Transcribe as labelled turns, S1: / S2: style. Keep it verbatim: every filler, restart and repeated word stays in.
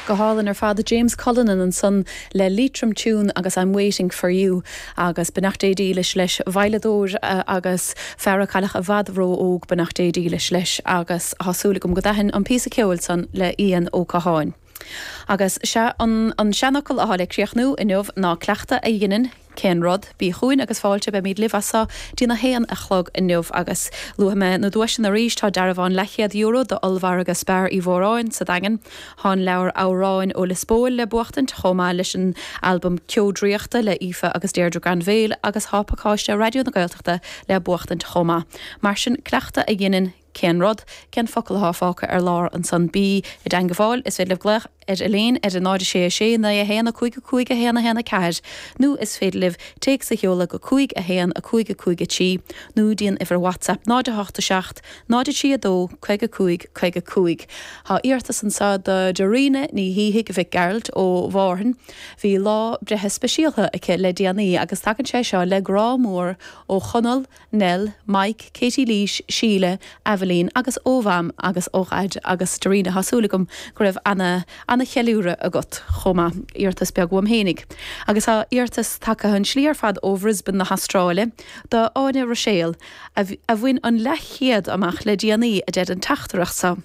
S1: Go hálainn ar fad James Cullinan ansan le Leitrim Tune agus I'm waiting for you agus beannacht Dé dhílis leis veidhleadóir uh, agus fear a cailleadh i bhfad ró-óg beannacht Dé dhílis leis agus tá súil agam go dtaithin an píosa ceoil san le Ian Ó Catháin. Agus sé an, an seanfhocal atá le críochnú inniu ná cleachtadh a dhéanann cén rud bí chugainn agus fáilte beimid libh as so dtína haon a chlog inniu agus luafaidh mé na duaiseanna arís tá dearbhán leathchéad euro do ollmhargadh Spar Uí Mhóráin sa Daingean, Tá leabhar amhráin ó Lios Póil le buachtaint chomh maith leis an albam Ceo Draíochta le Aoife agus Deirdre Granville agus tá pacáiste Raidió na Gaeltachta le buachtaint chomh maith. Mar sin cleachtadh a dhéanann cén rud, cén focal atá fágtha ar lár ansan bí i dteagmháil is féidir libh glaoch ar Elaine ar a náid sé sé naoi a haon a cúig a cúig a haon a haon a ceathair, nó is féidir libh téacs a sheoladh go cúig a haon a cúig a cúig a trí, nó dtí an uimhir WhatsApp náid a hocht a seacht, náid a trí a dó, caoga a cúig caoga a cúig. Tá iarratas anseo do Dorina Ní Shíthigh Mhic Gearailt ó Mhárthain, Bhí lá breithe speisialta aici le déanaí agus tagann sé seo le grá mór ó Chonall, Nell, Mike, Katie Lees, Síle, Evelyn agus ó Mham agus ó Dhaid agus Dorina tá súil agam go raibh ana ana cheiliúradh agat chomh maith iarratas beag uaim fhéinig. Agus tá iarratas tagtha an slí ar fad ó Brisbane na hAstráile do Áine Roiséal a bhain an leathchéad amach le déanaí a deir an teachtaireacht seo.